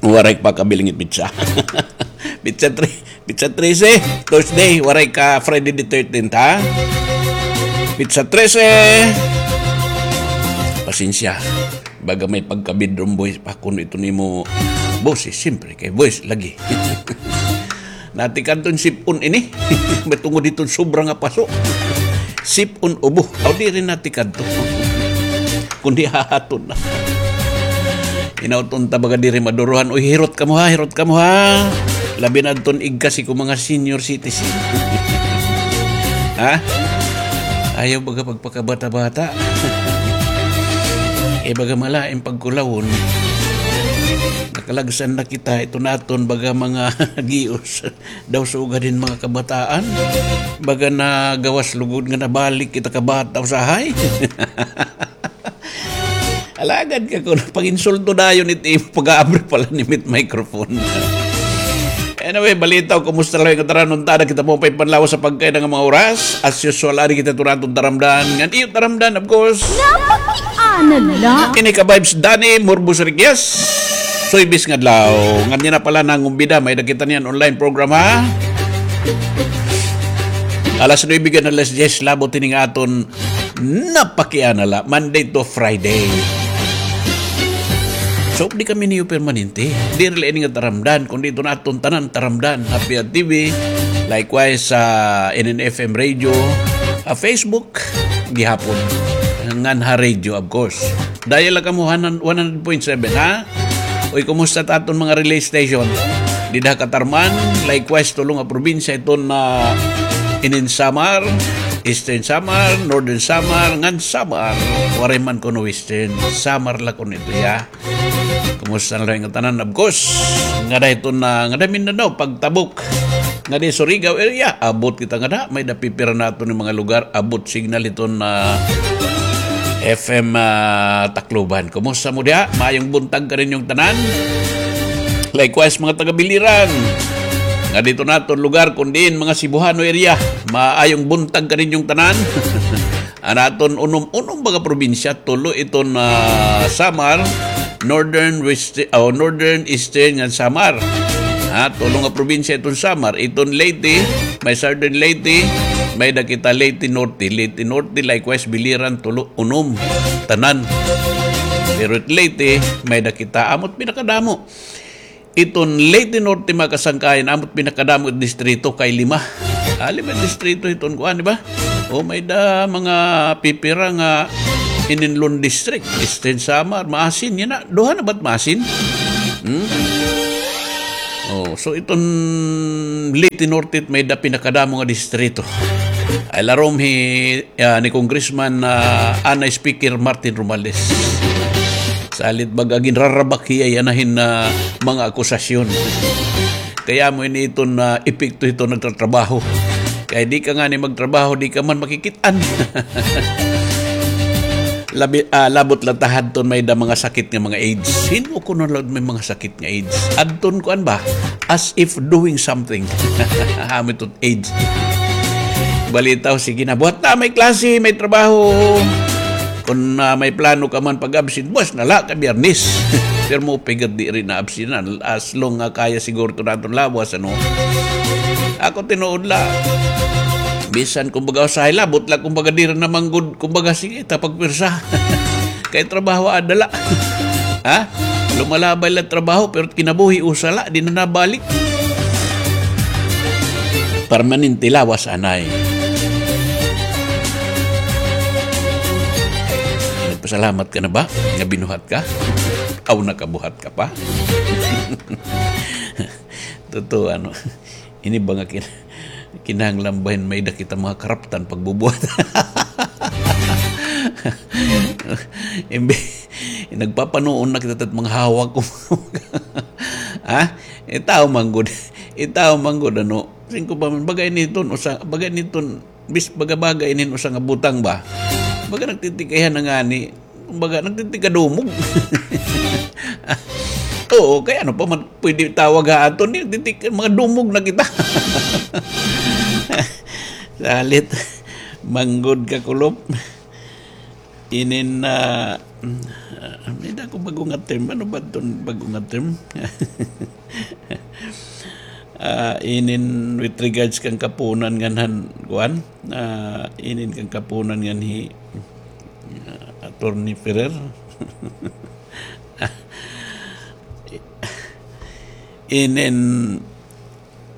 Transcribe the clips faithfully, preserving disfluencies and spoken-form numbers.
Waray pa kabiling it pitsa. Pitsa tre-, pitsa trese, Thursday, waray ka Friday the thirteenth, ha? Pitsa trese. Pasensya. Baga may pagka-bedroom voice pa kuno iton imo boses, siyempre, kay voice lagi. Natikadto hin sipon ini. May tungod hiton sobra nga paso. Sipon ubo. Aw, diri natikadto. Kundi hahaton na. Hinaot unta baga diri maduruhan. Uy, hirot kamo ha, hirot kamo ha. Labi na adton igkasi ko mga senior citizen. Ha? Ayaw baga pagpakabata-bata. Eh, baga malain pagkulawon. Nakalagsan na kita, ito naton baga mga gios. Daw sugad hin mga kabataan. Baga na gawas lugod nga nabalik kita kabata usahay. Alagad ka kuno, pag-insulto dayon it imo pag-aabri pala ni mit microphone. Anyway, balita o kumusta la nga tanan, unta na kita mo pa ipanlawas sa pagkain nga mga oras. As usual, adi kita turatong taramdan. Ngan iyo taramdan, of course. Napakiana la. Ini ka vibes Danny Murbos Riquez. Suybis nga adlaw. Ngan niyan na pala nangumbida, may-ada kita niyan online program, ha? Alas nuebe ngan alas diyes, labot ini nga aton Napakiana la, Monday to Friday. So, di kami niyo permanente. Diri la ini nga taramdan, kundi ito na aton tanan taramdan. Ha P R T V, likewise sa N N F M Radio, ha Facebook, gihapon. Ngan ha radio, of course. Dial la kamo one hundred point seven, ha? Uy, kumusta ta aton mga relay station? Dida ha Catarman, likewise, tulo nga probinsya iton na inin Samar, Eastern Samar, Northern Samar, ngan Samar. Waray man kuno Western, Samar la kuno ito, ya. Kumusta na la nga tanan, of course? Ngada iton na, ngada Mindanao, pagtabok. Ngadi Surigao area, abot kita ngada, may-ada pipira naton nga mga lugar, abot signal iton na F M, ah, Tacloban. Kumusta mo diha? Maayong buntag kaninyong tanan. Likewise, mga taga Biliran. Ngadi iton naton lugar, kun diin, mga Cebuano area. Maayong buntag kaninyong tanan. An aton unom, unom baga probinsya, tulo iton, ah, Samar, Northern, West-, oh, Northern, Eastern, ngan Samar. Ha, tulo nga probinsya iton Samar. Iton Leyte, may Southern Leyte, may-ada kita Leyte Norte. Leyte Norte, likewise, Biliran, tulo, unom. Tanan. Pero it Leyte, may-ada kita, amo it pinakadamo. Iton Leyte Norte, mga kasangkayan, amo it pinakadamo it distrito kay lima. Ah, lima distrito iton kuan, di ba? O, may-ada mga pipira nga ininlon district. Eastern Samar, Maasin, yana. Duha na ba it Maasin? Hmm? Oh, so iton Leyte Norte it may-ada pinakadamo nga distrito. Ay larom hi, ah, ni Congressman, ah, anay Speaker Martin Romualdez. Salit baga ginrarabak hiya yana hin, ah, mga akusasyon. Kay amo ini iton, ah, epekto hiton nagtatrabaho. Kay di ka ngani magtrabaho, di ka man makikit-an. Labi, ah, labot la ta hadton may-ada mga sakit nga mga AIDS. Hin-o kuno la may mga sakit nga AIDS? Adton kuan ba? As if doing something. Amo iton AIDS. Balita, o, sige na. Buhat na, may klase, may trabaho. Kun, ah, may plano ka man pag-absent, buwas na la kay Biyernes. Pero mo pigad di rin na absent na. As long nga kaya siguro to naton lawas, ano? Ako tinuod la. Bisan, kumbaga, usahay labot la, kumbaga, diri na man gud, kumbaga, sige, ta pagpwersa. Kay trabaho ada la. Ha? Lumalabay la trabaho, pero kinabuhi usa la, di na nabalik. Permanente lawas anay. Nagpasalamat ka na ba nga binuhat ka? Aw, nakabuhat ka pa? Totoo, ano? Ini ba nga kin-, kinahanglan ba hin may-ada kita mga karaptan pagbubuhat? Imbi-, nagpapanuon na kita tat mga hawak ko. Ha? Itaw man gud. Itaw man gud, ano? Singko pa man, bagay niton, usa, bagay niton, bis, baga-bagay nin usa nga butang ba? Baga nagtitikayan na ngani. Kumbaga, nagtitikadumog. Oo, kay ano pa man pwede tawag ha aton, di, di, di, mga dumog na kita. Salit, manggod ka, kulop. Inin, ah, Ah, may-ada ko bag-o nga term. Ano ba iton bag-o nga term? Ah, inin with regards kan kapunan ngan han, kuan? Ah, inin kan kapunan ngan hi, ah, Attorney Ferrer. Inin,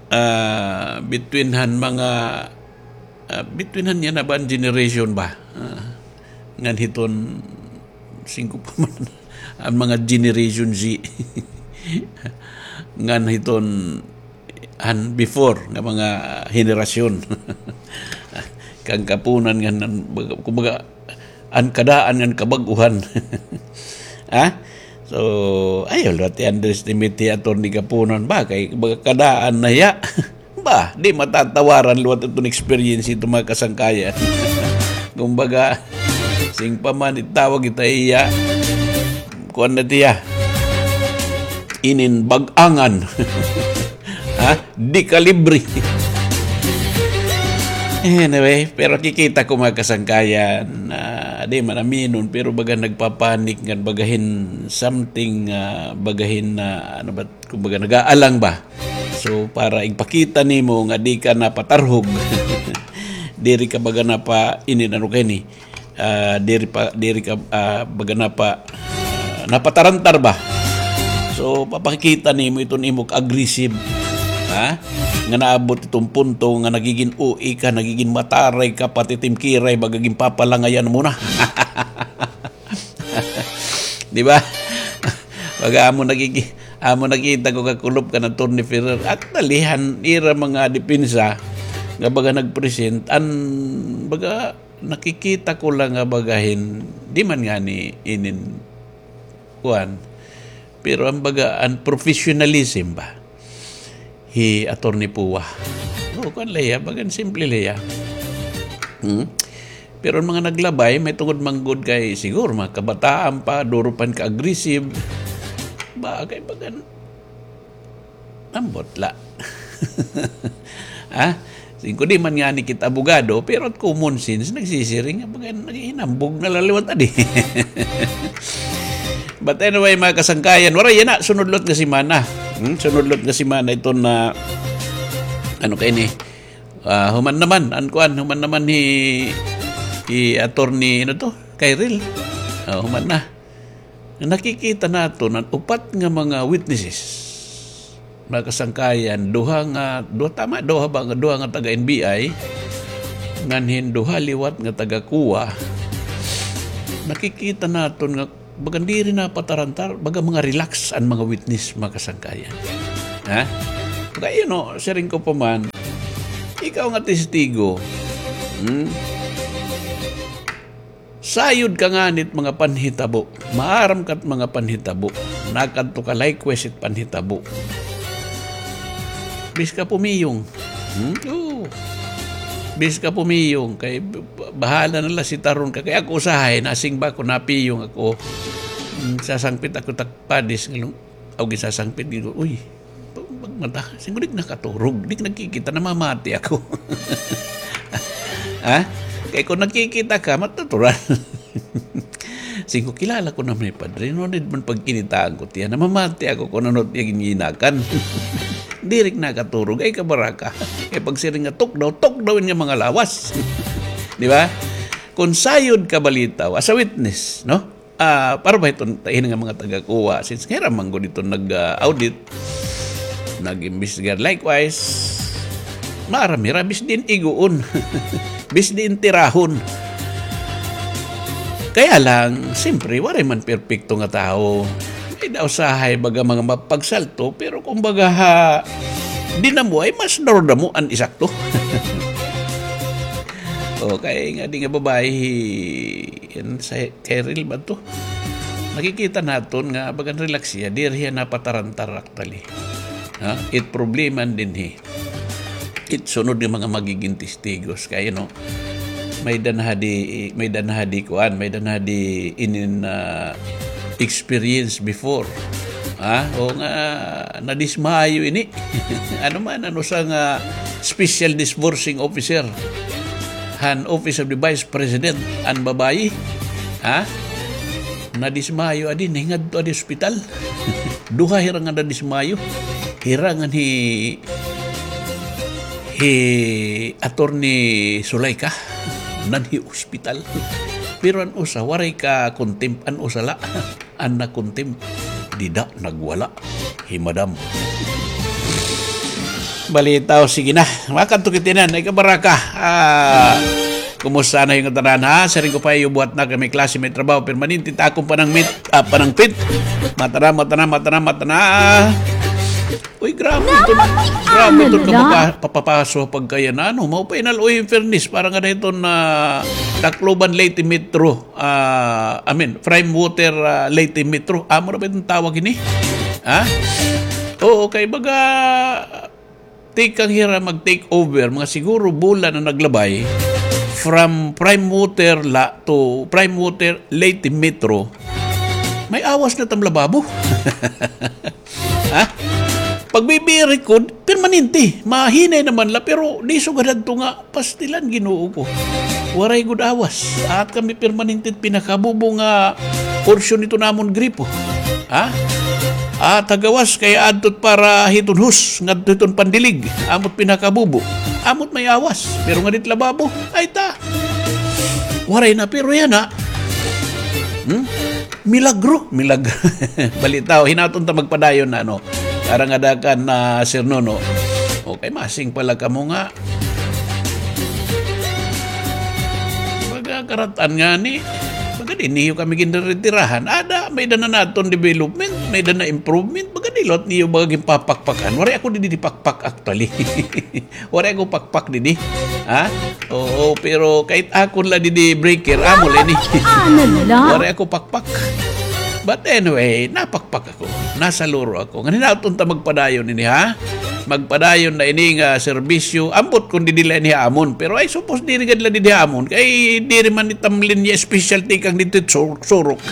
ah, between han mga, ah, between han yana ba an generation ba? Ah, ngan hiton singko pa man an mga generation Z. Ngan hiton han before nga mga henerasyon. Kan kapunan ngan, kumbaga, an kadaan ngan kabag-uhan. Ha? So, ayaw liwat i-underestimate hi Attorney Kapunan ba, kay baga kadaan na hiya. Ba, di matatawaran liwat iton experience hito, mga kasangkayan. Kumbaga, siring pa man, itawag kita hiya, kuan na tiya, inin bag-angan. Ha? Di kalibre. Anyway, pero kikita ko, mga kasangkayan, ah, di man aminon, pero baga nagpapanik ngan baga hin something, ah, baga hin, ah, ano ba, kumbaga, nag-aalang ba? So, para igpakita nimo nga di ka napatarhog, diri ka baga napa-, inin, ano kay ni, ah, diri pa, diri ka, ah, baga napa-, ah, napatarantar ba? So, papakita nimo iton imo ka-aggressive, ha? Nga naabot iton punto nga nagigin O A ka, nagigin mataray ka, pati timkiray, baga ginpapalangayan mo na. Di ba? Baga amo nakiki-, amo nakita ko kakulop kan Attorney Ferrer. Actually, han ira mga depensa nga baga nag-present, an baga nakikita ko la nga baga hin, di man ngani inin kuan. Pero an baga, an professionalism ba? Hi Attorney Pua. O, kuan la hiya, bagan simple la hiya. Hmm? Pero an mga naglabay, may tungod man gud kay siguro mga kabataan pa, duro pa hin ka-aggressive. Ba, kay bagan, ambot la. Ha? Siring ko, di man ngani kita abogado, pero it common sense, nagsisiring nga, bagan, naghihinambog na la liwat adi. But anyway, mga kasangkayan, waray yana, sunod liwat nga semana. Hmm? Sunod liwat nga semana iton, ano kay ni? Ah, human naman, an kuan, human naman hi, hi Attorney, ano to? Kyril. Ah, human na. Nakikita naton an upat nga mga witnesses. Mga kasangkayan, duha nga, duha, tama, duha ba, duha nga taga N B I, ngan hin duha liwat nga taga COA. Nakikita naton nga bagan diri napatarantar, baga mga relax an mga witness, mga kasangkayan. Ha? Kay, you know, siring ko pa man, ikaw nga testigo, hmm? Sayod ka ngani it mga panhitabo. Maaram ka it mga panhitabo. Nakadto ka likewise it panhitabo. Bis ka pumiyong. Hmm? Oo. Bis ka pumiyong. Kay b-, b-, bahala na la si taron ka. Kay ako usahay, nasing ba ko napiyong ako. Hmm, sasangpit ako tak padis. Ngalong, aw, gisasangpit. Ngalong, uy, pagmata. Siring ko, di nakaturog. Di nakikita, namamati ako. Ha? Kay kung nakikita ka, matutural. Siring ko, kilala ko naman hi Padre. No need man pagkinitaan ko tiya. Namamati ako kung ano tiya ginyinakan. Diri nakaturog. Ay, kabaraka. Kay pagsiring nga, tok daw, tok daw in nga mga lawas. Di ba? Kung sayod ka balitaw, as a witness, no? Ah, para ba iton tahin nga mga taga-COA, since hira man gud iton nag, ah, audit, nag-imbestigar. Likewise, maaram hira, bis diin iguon, bis diin tirahon. Kaya lang, siyempre, waray man perpekto nga tawo. May-ada usahay baga mga mapagsalto, pero kumbaga ha, dinamo ay mas darudamo an isakto. Okay, nga di nga babae, Yan sa Kyril ba to? Nakikita naton nga bagan relax hiya, diri hiya napatarantar actually. Ha? It problema dinhi. It sunod nga mga magiging testigos kay, you know, may-ada na hadi, may-ada na hadi kuan, may-ada na hadi inin, ah, experience before. Ha? O nga, nadismayo ini. Ano man, ano sa nga special disbursing officer han Office of the Vice President, an babayi. Ha? Nadismayo adi, nahingadto adi ospital. Duha hira nga nadismayo. Hira ngan hi, hi Attorney Sulaika. Nan hi ospital. Pero an usa, waray ka contempt, an usa la. An na-contempt, dida nagwala hi Madam. Balitaw, sige na. Makadto kita inan, ay kabaraka. Ah, kumusta na yung tanan, ha? Siring ko pa iyo, buhat na kami klase, may trabaho, permanente, ta akong panangmit, ah, panangpit. Matana, matana, matana, matana. Uy, grabe ito. Grabe ito, kapapa-, papapaso pagkaya na, ano? Maupay na, uy, in fairness, para nga dito na Tacloban, Leyte Metro. Ah, I mean, Prime Water, ah, Leyte Metro. Amo ra ba iton tawag ini? Ha? Oo, kay baga, tikang hira mag-take over, mga siguro bulan na naglabay, from Prime Water la to Prime Water Leyte Metro. May awas na tam lababo. Ha? Pag-B B A record, permanente. Mahinay naman la, pero di sugad hadto nga pastilan, Ginoo ko. Waray gud awas. At kami permanente pinakabubo nga porsyon nito namon gripo. Ha? At hagawas kay adtot para hiton hus, ngadto hiton pandilig. Amot pinakabubo. Amot may awas. Pero nga dit lababo, ay ta. Waray na, pero yana. Hmm? Milagro, milagro. Balitaw, hinaton ta magpadayon na, ano. Para nga dakan na, Sir Nono. Okay, masing pala kamo nga. Baga karatan nga ni. Baga di niyo kami ginretirahan. Ada, may dana naton development, may dana improvement. Baga di lot niyo baga ginpapakpakan. Waray ako di, di pakpak actually. Waray ako pakpak didi. Ha? Oo, pero kahit akon la didi breaker, amo la ini. Waray ako pakpak. But anyway, napakpak ako. Nasaluro ako. Ngan hinaton ta magpadayon ini, ha? Magpadayon na ini nga serbisyo. Ambot kon didi la ini ha amon. Pero ay, suppose diri gad la didi ha amon. Kay diri man itam linya specialty kang dito sur-, surok.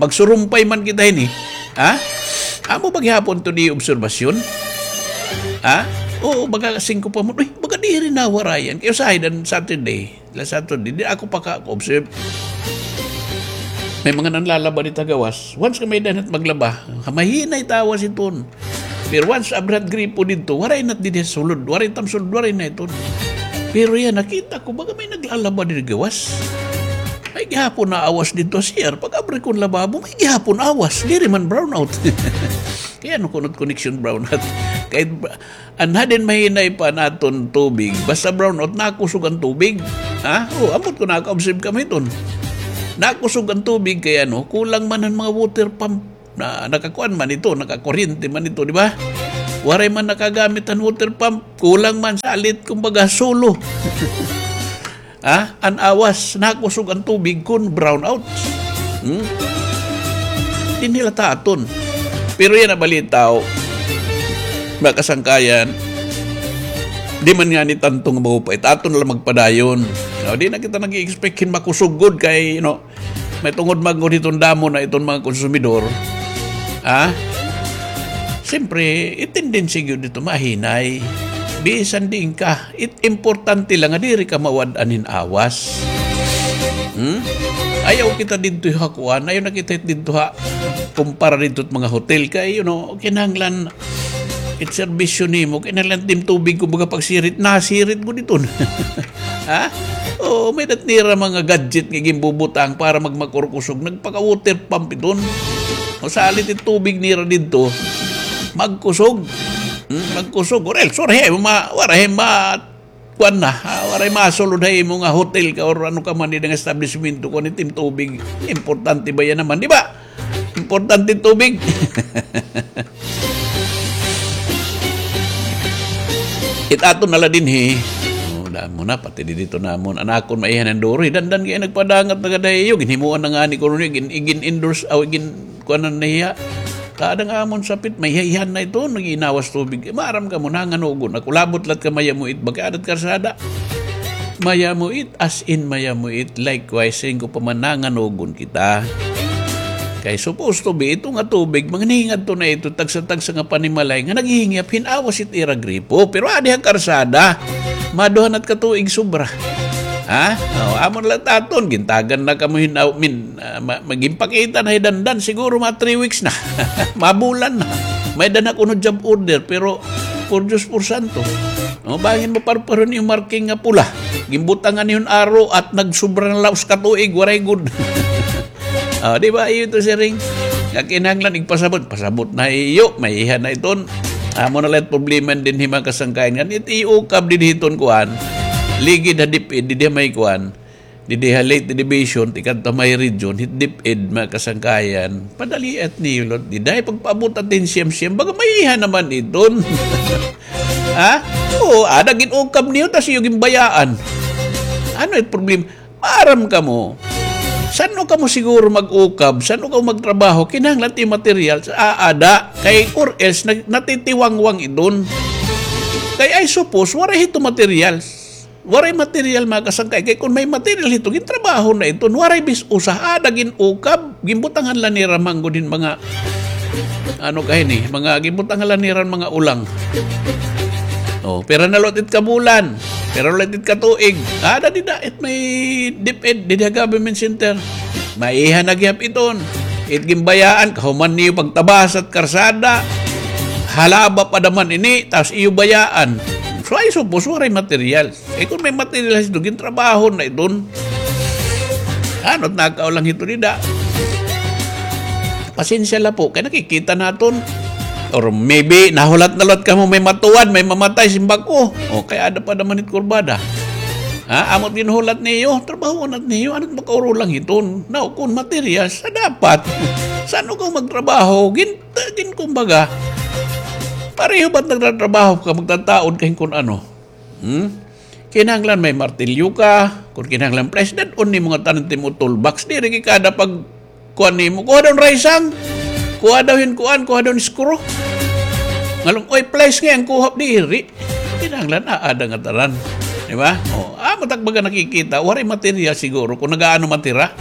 Magsurumpay man kita ini. Ha? Amo ba gihapon to di obserbasyon? Ha? Oo, baga singko pa mo. Uy, baga diri nawarayan. Kay usahay dan Saturday. La Saturday, di ako paka-observe. May mga nanlalaba dito gawas. Once ka may danat maglaba, mahinay tawas iton. Pero once abra hit gripo didto, waray na didi sulod, waray tam sulod, waray na iton. Pero yana, nakita ko, baga may naglalaba didi gawas. May gihapon na awas didto, sir. Pag-abri kon lababo, may gihapon awas. Diri man brownout. Kay ano kunot connection brownout? Kay ba-, an hadin mahinay pa an aton tubig. Basta brownout, nakusog an tubig. Ha? O, ambot ko naka-observe kami iton. Nakusog an tubig kay ano, kulang man an mga water pump. Na, nakakuan man ito, nakakuryente man ito, di ba? Waray man nakagamit han water pump, kulang man salit, kumbaga, solo. Ha? An awas, nakusog an tubig kon brownout. Hmm? Dinhi la ta aton. Pero yana balitaw, mga kasangkayan, di man ngani tanto nga maupay, ta aton la magpadayon. No, di na kita nag-i-expect hin makusog gud kay, you know, may tungod man gud hiton damo na iton mga konsumidor. Ha? Siyempre, it tendency gyud dito, mahinay. Bisan diin ka, it importante lang nga diri ka mawad-an hin awas. Hmm? Ayaw kita didto ha kuan, ayaw na kita didto ha kumpara didto mga hotel kay, you know, kinahanglan it serbisyo nimo, kinahanglan tim tubig, kumbaga, pagsirit, nasirit gud iton. Ha? Oo, may-ada nira mga gadget nga ginbubutang para magmakurkusog. Nagpaka-water pump iton. O, salit it tubig nira didto, magkusog. Hmm, magkusog. Or else, waray ma-, waray ma-, kuan na. Ah, waray masulod ha imo nga hotel ka or ano ka man dida nga establishmento kon it im tubig. Importante ba yana man, di ba? Importante tubig. It aton na la dinhi. O, damo na, pati didto namon. An akon maiha na duro, dandan kay nagpadangat na gad ha iyo. Ginhimuan na ngani ko ron, gin-, gin-endorse, aw, gin-, kuanan na hiya. Kada nga amon sapit, maiha-iha na ito, nag-iinawas tubig. Maaram kamo, nanganugon ako. Labot la it kamayamuit, baga adat karsada. Mayamuit, as in mayamuit. Likewise, siring ko pa man, nanganugon kita. Kay supposed to be, ito nga tubig, mangingadto na ito, tagsa-tagsa nga panimalay, nga naghihingyap hin awas it ira gripo. Pero adi ha karsada, maduha na it katuig sobra. Ha? O, amo na la it aton, gintagan na kamo hin, aw, min, ah, ma-, ma-, ginpakita na hi Dandan, siguro mga three weeks na. Mabulan na. May-ada na kuno job order, pero por Diyos, por santo. O, bangin maparparo niyo marking nga pula. Ginbutangan niyo hin aro at nagsubra na la usa ka tuig, waray gud. Ah, di ba? Iyo ito, siring. Nga kinahanglan igpasabot. Pasabot na iyo. Maiha na iton. Amo na la it problema dinhi, mga kasangkayan. Ngan it iukab dinhi iton kuan. Ligid ha DepEd, dinhi ha may kuan. Dinhi ha Leyte Division, tikadto ha may region, hit DepEd, mga kasangkayan. Padaliat niyo la. Dida, pagpaabot atin siyam-siyam. Baga maiha naman iton. Ha? Oo, ada gin-ukab niyo, tas iyo ginbayaan. Ano it problema? Maaram kamo. San-o kamo siguro mag-ukab, san-o kamo magtrabaho, kinahanglan it materials, aada. Kay or else, nag-, natitiwangwang iton. Kay I suppose, waray hito materials. Waray material, mga kasangkay. Kay kon may material hito, gintrabaho na iton. Waray bis usa, aada gin-ukab, ginbutangan la nira man gud hin mga, ano kaini, mga ginbutangan la nira mga ulang. O, pira na la it kabulan. Pira na la it katuig. Aada dida, it may DepEd, dida government center. Maiha na gihap iton. It ginbayaan, kahuman niyo pagtabas hit karsada. Halaba pa daman ini, tas iyo bayaan. So, I suppose, waray material. Eh, kon may material hito, gintrabaho na iton. Ano, nakaulang hito dida. Pasensya la po, kay nakikita naton. Or maybe, nahulat na la kamo may matuad, may mamatay, simbag ko. O, kay ada pa daman it kurbada. Ha? Amo it ginhulat niyo, trabaho na niyo, ano it makaurulang hiton? Now, kon materials, sa dapat. San-o ka magtrabaho, gin-, gin-, kumbaga, pareho ba't nagtatrabaho ka, magtataod ka hin kon ano? Hmm? Kinahanglan may martilyo ka, kon kinahanglan pliers, dad-on nimo ngatanan it imo toolbox, diri kay kada pag kuan nimo, kuha daw hin raysang, kuha daw hin kuan, kuha daw hin screw. Ngan, oy, pliers ngay-an kuha, diri. Kinahanglan aada ngatanan. Di ba? O, amo it ak baga nakikita, waray material siguro kon nag-aano man it ira.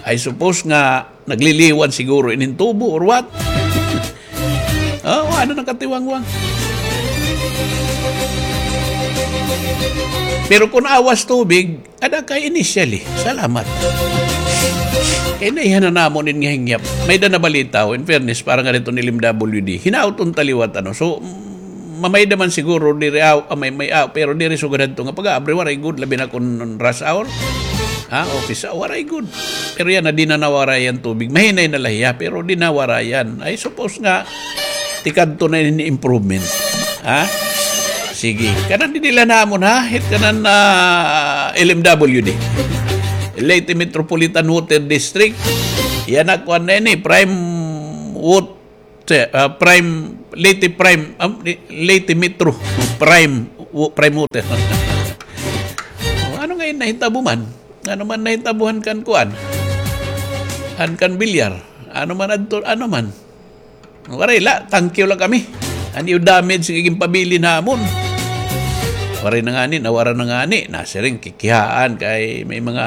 I suppose nga nagliliwan siguro inin tubo or what? O, ano, nakatiwangwang. Pero kon awas tubig, ada kay initially. Salamat. Kay naiha na namon in nga hingyap. May-ada nabalita, o, in fairness, para nga didto hin L M W D. Hinaot unta liwat, ano. So, mm, mamayda man siguro diri aw, ah, may, may aw, pero diri sugad hadto nga pag-aabri, waray gud, labi na kon rush hour. Ha, office hour, waray gud. Pero yana, diri na nawarayan tubig. Mahinay na la hiya, pero diri nawarayan. I suppose nga, tikadto na ini improvement. Ha? Sige. Kanan didi la namon, ha? Hit kanan, ah, L M W D. Leyte Metropolitan Water District. Yana, kuan na ini, Prime Wat-, ah, Prime, Leyte Prime, ah, Leyte Metro Prime, wa-, Prime Water. O, ano ngay-an nahitabo man? Ano man nahitabo han kan kuan? Han kan bilyar? Ano man adto, ano man? Waray la, thank you la kami. An iyo damage nga ginpabilin namon. Waray na ngani, nawara na ngani. Nasiring, kikihaan kay may mga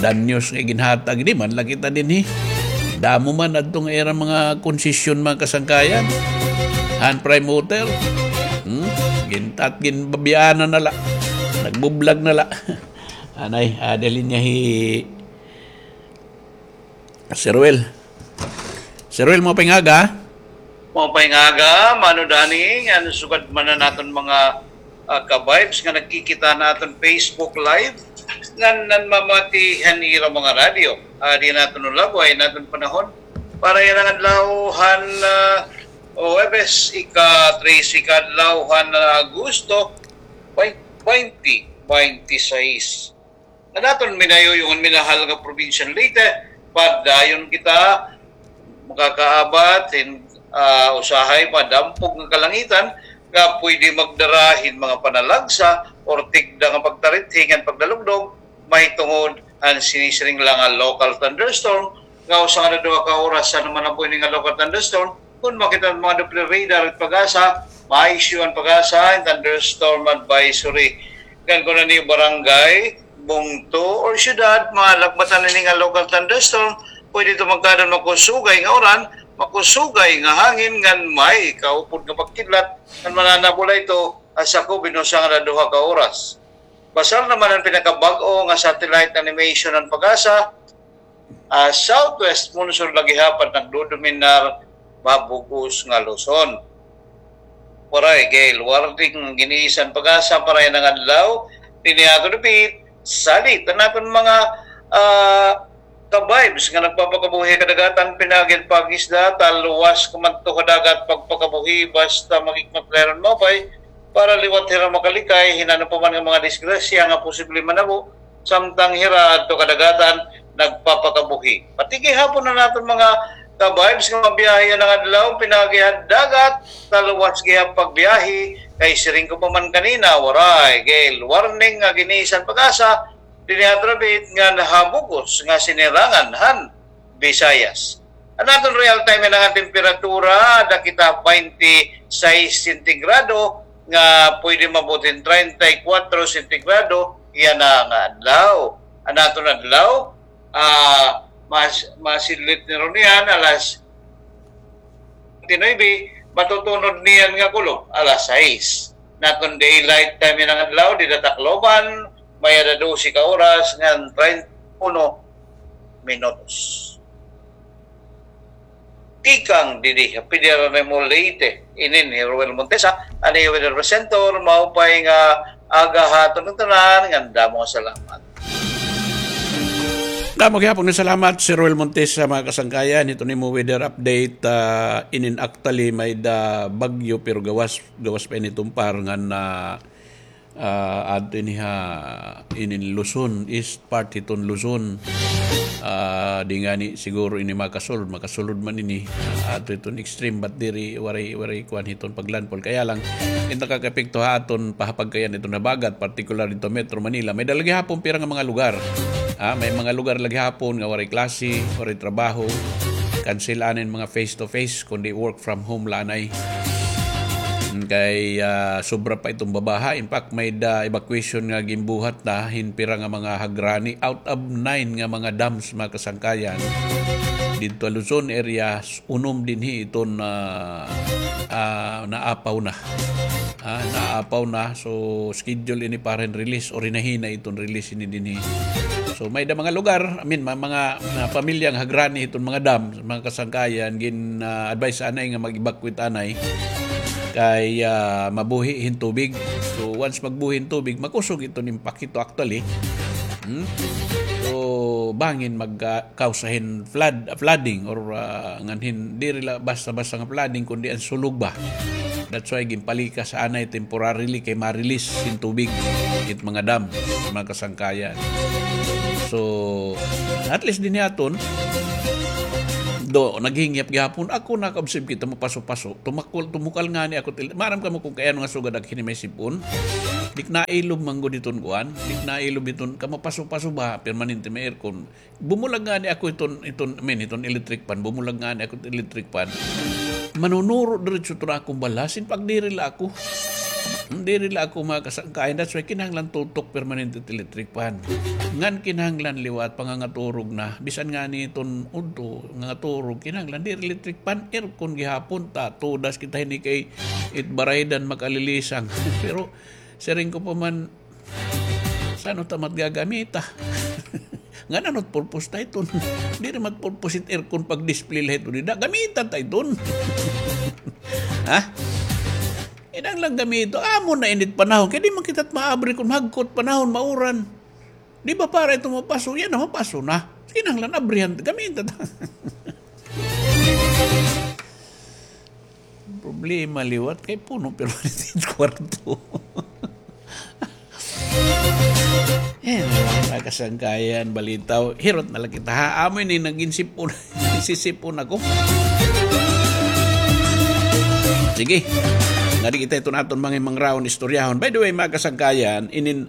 danyos nga ginhatag. Di man la kita dinhi. Damo man adto nga ira mga konsesyon, mga kasangkayan. Han Prime Water. Hmm? Gintat, ginbabianan na la. Nagbublag na la. Anay, adalin niya hi Sir Will. Sir Will, maupay nga aga. Maupay nga aga, Mano Danny, ngan sugad man an aton mga, ah, ka-vibes nga nagkikita han aton Facebook Live, ngan nanmamati han ira mga radyo. Adi an aton ulab, waray an aton panahon. Para yana nga adlaw han, ah, Huwebes, ika-trese ka adlaw han, ah, Agosto, twenty twenty-six. An aton minayuyong ngan minahal nga probinsyang Leyte, padayon kita makakaabat hin, ah, usahay madampog nga kalangitan nga pwede magdara hin mga panalagsa or tigda nga pagtarithi ngan pagdalugdog mahitungod han sinisiring la nga local thunderstorm nga usa ngada duha ka oras. Ano man an pwede nga local thunderstorm, kon makita han mga Doppler radar it PAGASA, ma-issue an PAGASA hin thunderstorm advisory. Ngan kon an iyo barangay, bungto, or syudad, malagbatan ini nga local thunderstorm, pwede ito magkadto makusugay nga uran, makusugay nga hangin, ngan may kaupod nga pagkidlat, ngan mananabol la ito ha sakob hin usa ngada duha ka oras. Pasar naman an pinakabag-o nga satellite animation han PAGASA, ah, southwest monsoon la gihapon nagdodominar ha bug-os nga Luzon. Waray gale warning gin-iisyu han PAGASA para yana nga adlaw. Dinhi ha aton dapit, salit an aton mga, ah, ka-vibes nga nagpapakabuhi ha kadagatan, pinaagi han pag-isda, talwas kumadto ha dagat pagpakabuhi, basta maghikmat la hira hin maupay para liwat hira makalikay hin ano pa man nga mga disgrasya nga posible manabo samtang hira adto ha kadagatan nagpapakabuhi. Pati gihapon an aton mga ka-vibes nga mabiyahe yana nga adlaw, pinaagi han dagat, talwas gihap pagbiyahe, kay siring ko pa man kanina, waray gale warning nga gin-iisyu han PAGASA dinhi ha aton dapit ngan ha bug-os nga sinirangan han Visayas. An aton real time yana nga temperatura, ada kita baynte sais sentigrado, nga pwede maabot hin treinta y cuatro sentigrado yana nga adlaw. An aton adlaw, ah, mas, masidlit ni Ronian, alas twenty-nine, matutunod niyan nga kulob, alas sais. An aton daylight time yana nga adlaw, dida ha Tacloban, may-ada dose ka oras ngan treinta y uno minutos. Tikang didi ha Piedra Real Estate, inin hi Roel Montesa, an iyo weather presenter, maupay nga aga ha aton tanan, ngan damo nga salamat. Damo gihapon nga salamat, Sir Roel Montesa, mga kasangkayan, hiton imo weather update, ah, inin actually may-ada bagyo, pero gawas, gawas pa ini tumpar ngan, ah, ah, adto ini ha, inin Luzon, east part hiton Luzon. Ah, di ngani siguro ini makasulod, makasulod man ini, ah, adto hiton extreme, but diri, waray, waray kuan hiton paglandfall. Kaya lang, it nakakaepekto ha aton pahapagkayan hiton habagat, particular didto Metro Manila. May-ada la gihapon pira nga mga lugar. Ah, may mga lugar la gihapon nga waray klase, waray trabaho. Cancel anay mga face to face, kundi work from home la anay. Kay, ah, sobra pa iton babaha. In fact, may-ada evacuation nga ginbuhat na hin pira nga mga hagrani out of nine nga mga dams, mga kasangkayan. Didto ha Luzon area, unom dinhi iton, ah, ah, naapaw na. Ah, naapaw na. So, schedule ini para hin release or hinahinay iton release ini dinhi. So, may-ada mga lugar, I mean, ma-, mga, ah, pamilya nga hagrani iton mga dam, mga kasangkayan, gin, ah, advise anay nga mag-evacuate anay kay, ah, mabuhi hin tubig. So, once magbuhi hin tubig, makusog iton impact hito actually. Hmm? So, bangin mag, ah, kausa hin flood, flooding or, ah, ngan hin, diri la basta-basta nga flooding, kundi an sulog ba. That's why ginpalikas anay temporarily kay ma-release hin tubig it mga dam, mga kasangkayan. So, at least dinhi aton, do, naghingyap gihapon. Ako nakaobserve kita, mapaso-paso. Tumakol, tumukal ngani ako til-, maaram kamo kon kay ano nga sugad ak hini may sip-on. Di ko nailob man gud iton kuan. Di ko nailob iton, kay mapaso-paso ba, permanente may aircon. Bumulag ngani ako iton, iton, I mean, iton electric fan. Bumulag ngani ako iton electric fan. Manunuro diretso iton akon balhas. In fact, diri la ako. Diri la ako makasangkayan. That's why kinahanglan tutok permanente it electric fan. Ngan kinahanglan liwat, pangangaturog na. Bisan ngani iton udto, nangaturog, kinahanglan diri electric fan, aircon gihapon ta. Tudas kita hini kay it baraydan makalilisang. Pero siring ko pa man, san-o ta man it gagamita? Ngan ano it purpose ta iton? Diri man it purpose it aircon pag-display la iton dida. Gamita ta iton. Ha? Kinahanglan gamito. Amo na ini it panahon. Kay di man kita maabri kon mahagkot panahon, mauran. Di ba para iton mapaso? Yana, mapaso na. Kinahanglan abrihan. Gamita ta. Problema liwat kay puno permanente it kwarto. Eh, mga kasangkayan, balitaw. Hirot na la kita, ha? Amo ini nagin sip-on. Sisip-on ako. Sige. Ngadi kita iton aton mga mangraon, istoryahon. By the way, mga kasangkayan, inin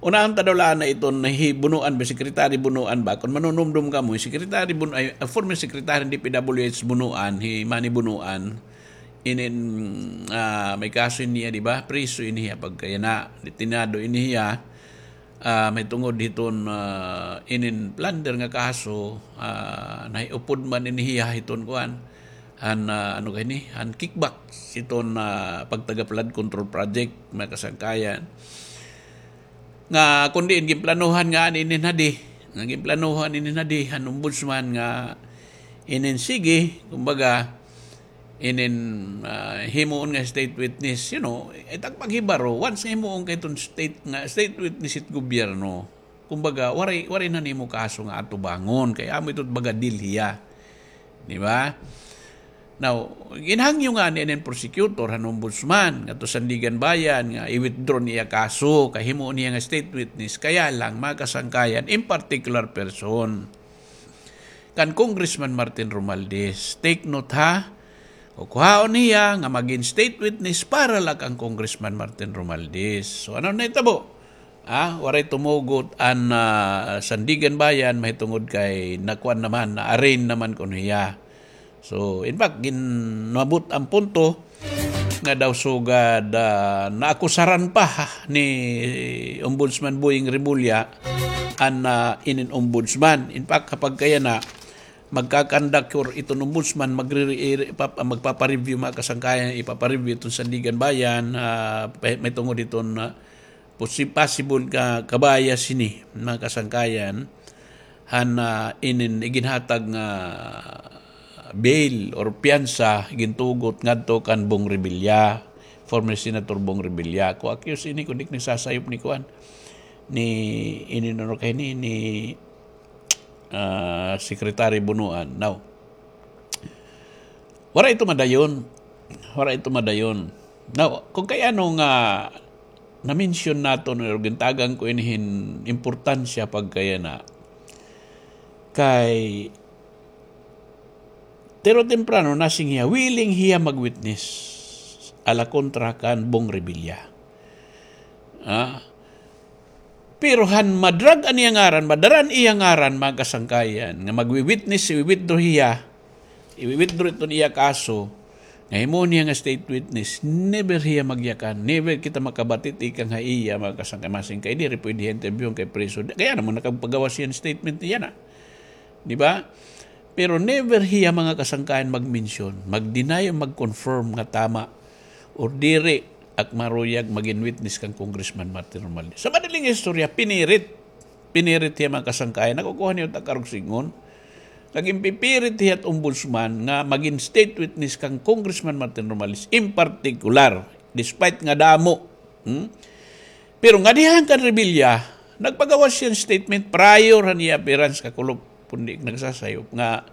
Unahon ta daw la anay iton hi Bunuan ba, Secretary Bunuan ba? Kon manunumdom kamo, hi Secretary Bun-, ay, ah, former Secretary D P W H Bunuan, hi Manny Bunuan, inin, ah, may kaso ini hiya, di ba? Priso ini hiya pagkayana, detenado ini hiya, ah, may tungod hiton, ah, inin plunder nga kaso, ah, nahiupod man ini hiya hiton kuan, han, ah, ano kay ni, han kickback hiton, ah, pagtaga flood control project, mga kasangkayan. Nga kun diin ginplanuhan nga an inin hadi, nga ginplanuhan inin hadi han ombudsman nga inin sige, kumbaga, inin, ah, himuon nga state witness, you know, it ak paghibaro, once nga himuon ka iton state nga, state witness it gobyerno, kumbaga, waray, waray na nimo kaso nga atubangon, kay amo ito baga deal hiya. Di ba? Now, ginhangyo ngani inin prosecutor han ombudsman ngadto Sandiganbayan nga i-withdraw niya kaso, kay himuon niya nga state witness, kaya lang, mga kasangkayan, in particular person. Kan Congressman Martin Romualdez, take note ha, kukuhaon niya nga magin state witness para la kan Congressman Martin Romualdez. So, ano nahitabo? Ah, waray tumugot an, ah, Sandiganbayan, mahitungod kay nakuan naman, na-arraign naman kuno hiya. So, in fact, ginmabot an punto nga daw sugad, ah, naakusaran pa ni Ombudsman Boying Remulla an, ah, inin ombudsman. In fact, kapag kaya na, magkakandak or iton ombudsman, magre-, ire-, pap-, magpapareview, mga kasangkayan, ipapareview iton Sandiganbayan, ah, pa-, mahitungod iton, ah, posi-, possible ka, ka-bias hini, mga kasangkayan, han, ah, inin iginhatag nga bail or piyansa gintugot ngadto kan Bong Revilla, former Senator Bong Revilla. Ko-accuse ini, kun di ak nagsasayop, ni kuan, ni, inin ano kay ni, ni, ah, Secretary Bonoan. Now, wara ito madayon. Wara ito madayon. Now, kun kay ano nga na-mention naton or gintagan ko ini hin importansya pagkayana, kay tiro temprano nasiring hiya, willing hiya mag-witness a la kontra kan Bong Revilla. Ah, pero han ma-drag an iya ngaran, madara an iya ngaran, mga kasangkayan, nga magwi-witness, i-withdraw hiya, i-withdraw iton iya kaso, nga himuon hiya nga state witness, never hiya magyakan, never kita makabati tikang ha iya, mga kasangkayan, masiring kay diri pwede hiya interviewon kay preso. Kay ano man nakapagawas hiya hin statement niya na. Di ba? Pero never hiya, mga kasangkayan, mag-mention, mag-deny o mag-confirm nga tama or diri ak maruyag magin witness kan Congressman Martin Romualdez. Sa madaling istorya, pinirit. Pinirit hiya, mga kasangkayan. Nakukuha niyo ta karuyag sidngon. Nagin pipirit hiya it ombudsman nga magin state witness kan Congressman Martin Romualdez in particular, despite nga damo. Hmm? Pero ngadihan kan Revilla, nagpagawas hiya hin statement prior han iya appearance, kakulop, kun di ak nagsasayop, nga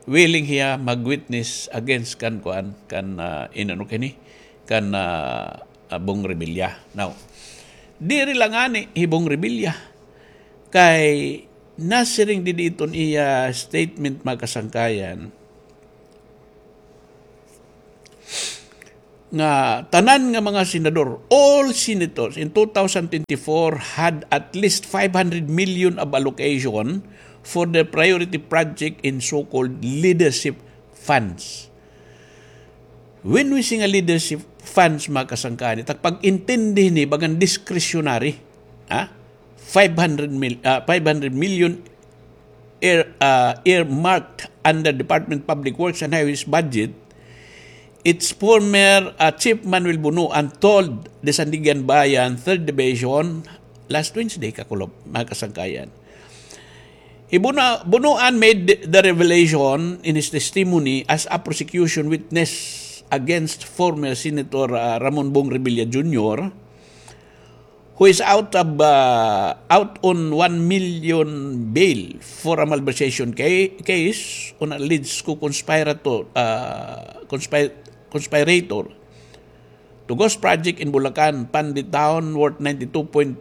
willing hiya mag-witness against kan kuan, kan, ah, inano kini, kan, ah, ah, Bong Revilla. Now, diri la ngani hi Bong Revilla, kay nasiring didi iton iya statement, mga kasangkayan, nga tanan nga mga senador, all senators in two thousand twenty-four had at least five hundred million of allocation for the priority project in so-called leadership funds. When we say nga leadership funds, mga kasangkayan, it ak pag-intindi hini, bagan discretionary, ha? Five hundred mil-, ah, five hundred million ear-, ah, earmarked under Department of Public Works and Highways budget, its former, ah, Chief Manuel Bonoan told the Sandiganbayan Third Division last Wednesday, kakulop, mga kasangkayan. Hi Bono-, Bonoan made the revelation in his testimony as a prosecution witness against former Senator, ah, Ramon Bong Revilla Junior, who is out of, ah, out on one million bail for a malversation ca-, case on alleged co-conspirator, ah, conspi-, conspirator to ghost project in Bulacan, Pandi Town, worth ninety-two point,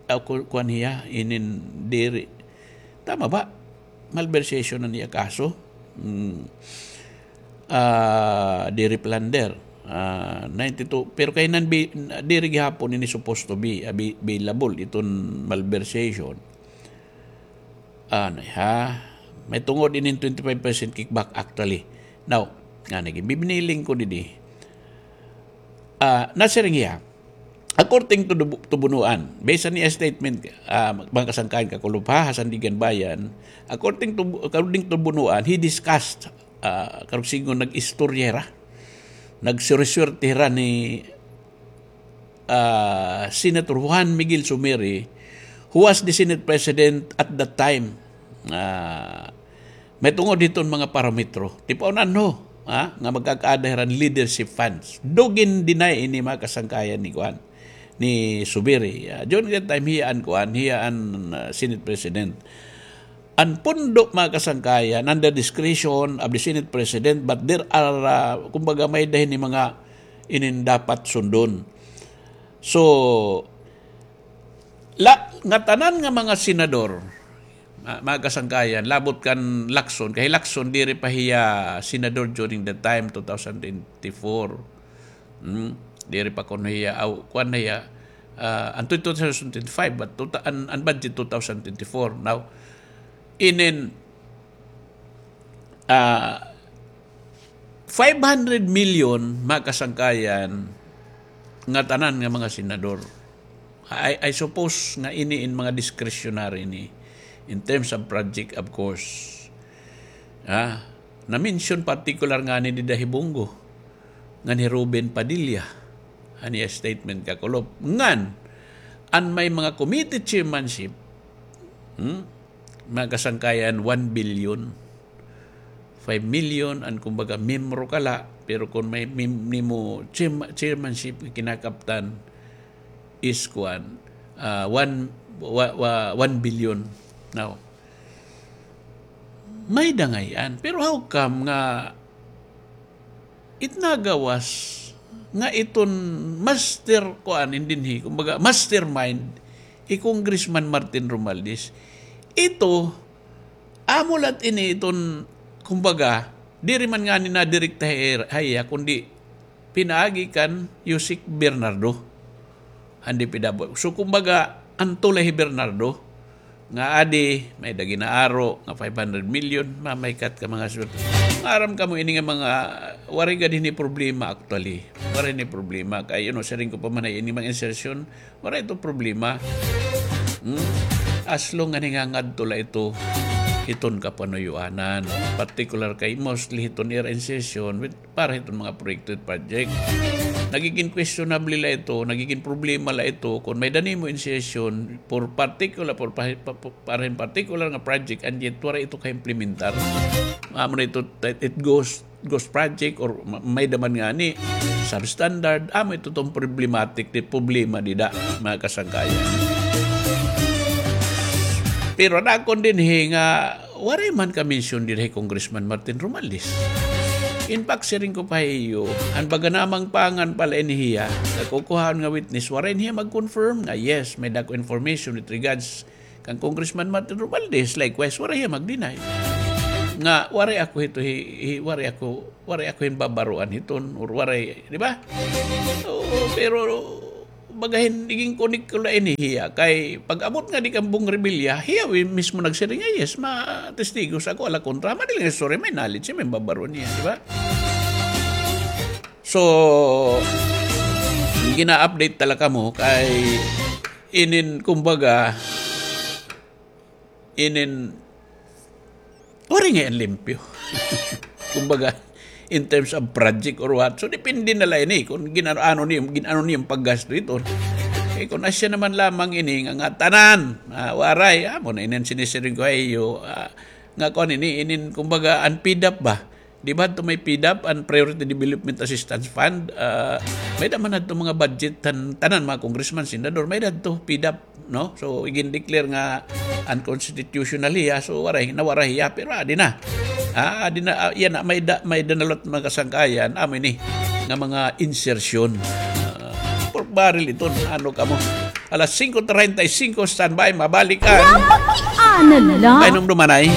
ah, ku-, kuan hiya, inin diri. Tama ba? Malversation an iya kaso. Hmm. Ah, diri plunder. Ah, ninety-two. Pero kay nan bi-, diri gihapon ini supposed to be, ah, bi-, bailable iton malversation. Ano, ha? May tungod inin twenty-five percent kickback actually. Now, nga naging bibiniling ko didi. Ah, nasiring hiya, according to, to Bonoan, based on iya statement, ah, mga kasangkayan, kakulop ha, ha Sandiganbayan, according to, according to Bonoan, he discussed, ah, karuyag sidngon nag-istorya hira, nagsuriswerte hira ni, ah, Senator Juan Miguel Zumiri, who was the Senate President at that time. Ah, may tungod hiton mga parametro. Tipaon-an ho, ha, nga magkakaada hira hin leadership funds. Do gin-deny ini, mga kasangkayan, ni kuan, ni Zubiri. Ah, during that time, hiya an kuan, hiya an, ah, Senate President. An pundo, mga kasangkayan, under discretion of the Senate President, but there are, ah, kumbaga, may-ada hini mga inin dapat sundon. So, la-, ngatanan nga mga senador, ma-, mga kasangkayan, labot kan Lacson, kay Lacson diri pa hiya senador during the time, two thousand twenty-four. Hmm? Diri pa kuno hiya, aw, kuan na hiya, ah, an two thousand twenty-five, but two thou-, an, an budget two thousand twenty-four. Now, inin, ah, five hundred million, mga kasangkayan, ngatanan nga mga senador. I, I suppose nga ini in mga discretionary ni, in terms of project, of course. Ah, na-mention particular ngani dida hi Bong Go, ngan hi Robin Padilla, an iya statement kakulop. Ngan, an may mga committee chairmanship, hmm? Mga kasangkayan, one billion. Five million an kumbaga miyembro ka la, pero kon may mim-, nimo chairma-, chairmanship nga kinakaptan is kuan, ah, one, wa-, wa-, one billion. Now, may dangay-an. Pero how come nga it nagawas nga iton master kuan in dinhi, kumbaga, mastermind, hi Congressman Martin Romualdez. Ito, amo la ini iton, kumbaga, diri man ngani nadirekta ha iya, kundi pinaagi kan Usec Bernardo. An D P W. So, kumbaga, an tulay hi Bernardo, nga adi, may-ada gin-aaro, nga five hundred million, mamaykat ka mga swerte. Maaram kamo ini nga mga, waray gad hini problema actually. Waray ni problema. Kay, you know, siring ko pa man ay ini mga insertion, waray ito problema. Hmm? As long nga nangangadto la ito, hiton kapanuyuanan. Particular kay mostly hiton ira insertion with para hiton mga proyekto at project. Nagigin questionable la ito, nagigin problema la ito kon may-ada nimo insertion for particular, for pa-, pa-, pa-, para hin particular nga project and yet waray ito ka-implementar. Amo na ito, it goes, ghost project or ma-, may-ada man ngani substandard, amo ito iton problematic, di problema dida, mga kasangkayan. Pero an akon dinhi nga waray man ka-mention dida hi Congressman Martin Romualdez. In fact, siring ko pa ha iyo, an baga namang pangan pa la ini hiya, nagkukuhaon nga witness, waray niya mag-confirm nga, yes, may dako information with regards kan Congressman Martin Romualdez. Likewise, waray hiya mag-deny nga waray ako hito hi, hi, waray ako, waray ako hin babaroan hiton, or waray, di ba? Oo, pero baga hin, igin-connect ko la ini hiya. Kay pag-abot ngadi kan Bong Revilla, hiya mismo nagsiring nga, yes, ma-, testigos ako, ala kontra. Madali nga istorya, may knowledge, may babaroan niya, di ba? So, gina-update tala kamo kay inin, kumbaga, inin, waray ngay-an limpyo. Kumbaga, in terms of project or what. So, depende na la ini kon gin-ano, ano niya, gin-ano niya an paggasto ito. Eh, kon asya naman lamang ini nga, ngatanan, ah, waray, amo na inin sinisiring ko ha iyo, ah, nga kuan ini, inin, kumbaga, an PDAF ba? Di ba adto may PDAF, an Priority Development Assistance Fund? Ah, may-ada man adto mga budget han tanan, mga congressman, senador, may-ada adto PDAF, no? So, igin-declare nga unconstitutional hiya, so waray, nawaray hiya, pero adi na. Ah, adi na, ah, yana, may-ada, may-ada na la it mga kasangkayan, amo ini, nga mga insertion. Ah, pork barrel iton, ano kamo? Alas singko treinta y cinco, standby, mabalik an Pakiana la. Painom dumanay.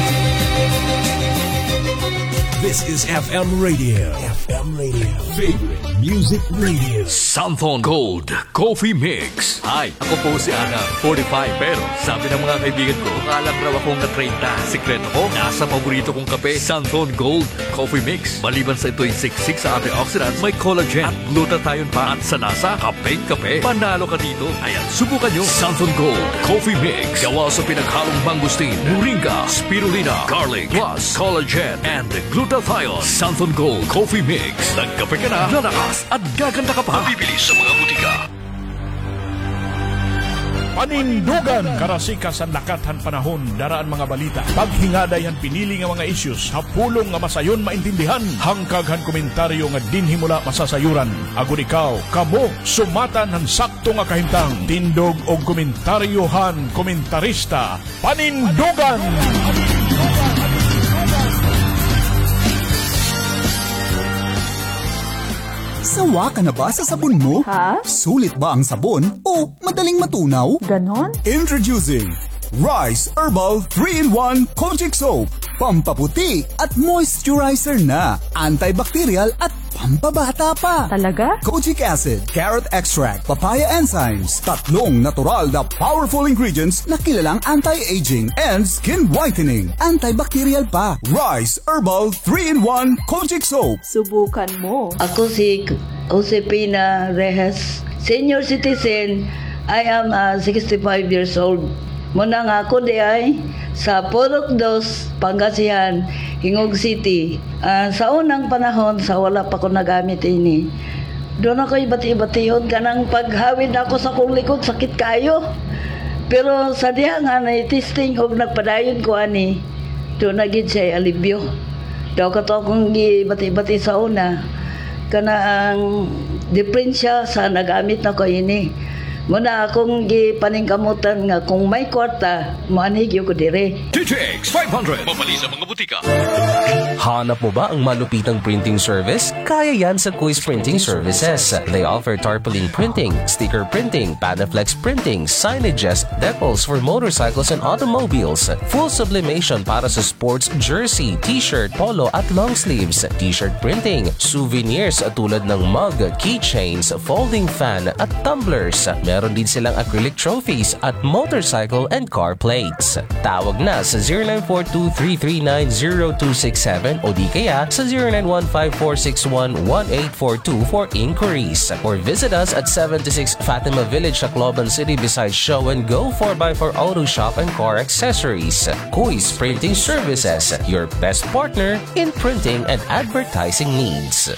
This is F M Radio. F M Radio. Favorite Music Radio. Santhon Gold Coffee Mix. Hi, ako po si Adam, forty-five. Pero sabi ng mga kaibigan ko, mukha lang raw akong na-treinta. Sikreto ko, nasa paborito kong kape, Santhon Gold Coffee Mix. Maliban sa ito'y siksik sa antioxidants, may collagen at glutathione pa. At sa lasa, kapeng-kape. Panalo ka dito. Ayan, subukan nyo. Santhon Gold Coffee Mix. Gawa sa pinaghalong mangosteen, moringa, spirulina, garlic, plus collagen and glutathione. Santhon Gold Coffee Mix. Nagkape ka na, lalakas at gaganda ka pa. Mabibili sa mga butika. Panindugan. Karasikas han lakat han panahon, dara an mga balita, paghingaday han pinili nga mga issues ha pulong nga masayon maintindihan, hangkag han komentaryo nga dinhi mo la masasayuran. Agod ikaw, kamo, sumatan han sakto nga kahimtang. Tindog og komentaryo han komentarista. Panindugan! Sawa ka na ba sa sabon mo? Ha? Sulit ba ang sabon o madaling matunaw? Ganon? Introducing Rice Herbal three-in-one Kojic Soap. Pampaputi at moisturizer na. Antibacterial at pampabata pa. Talaga? Kojic acid, carrot extract, papaya enzymes. Tatlong natural na powerful ingredients na kilalang anti-aging and skin whitening. Antibacterial pa. Rice Herbal three-in-one Kojic Soap. Subukan mo. Ako si Josefina Reyes, senior citizen. I am, ah, sixty-five years old. Muna nga ako diay sa Purok Dos, Pangasinan, Gingoog City. Ah, sa unang panahon, sa wala pa ko nagamit ini, duna ko'y bati-batihon, kanang paghawid nako sa akong likod, sakit kaayo. Pero sa diha nga na-testing og nagpadayon ko ani, duna gid siya'y alibyo. Daw kato akong gibati-bati sa una, kana ang diperensya sa nagamit nako ini. Muna akong gipaningkamutan nga kung may kwarta, moanhi gyud ko diri. D T X five hundred. Mapalit sa mga butika. Hanap mo ba ang malupitang printing service? Kaya yan sa Kuis Printing Services. They offer tarpaulin printing, sticker printing, Panaflex printing, signages, decals for motorcycles and automobiles, full sublimation para sa sports jersey, t-shirt, polo at long sleeves, t-shirt printing, souvenirs tulad ng mug, keychains, folding fan at tumblers. Meron din silang acrylic trophies at motorcycle and car plates. Tawag na sa zero nine four two three three nine zero two six seven o di kaya sa zero nine one five four six one one eight four two for inquiries. Or visit us at seventy-six Fatima Village, Tacloban City, beside Show and Go four by four Auto Shop and Car Accessories. Kuis Printing Services, your best partner in printing and advertising needs.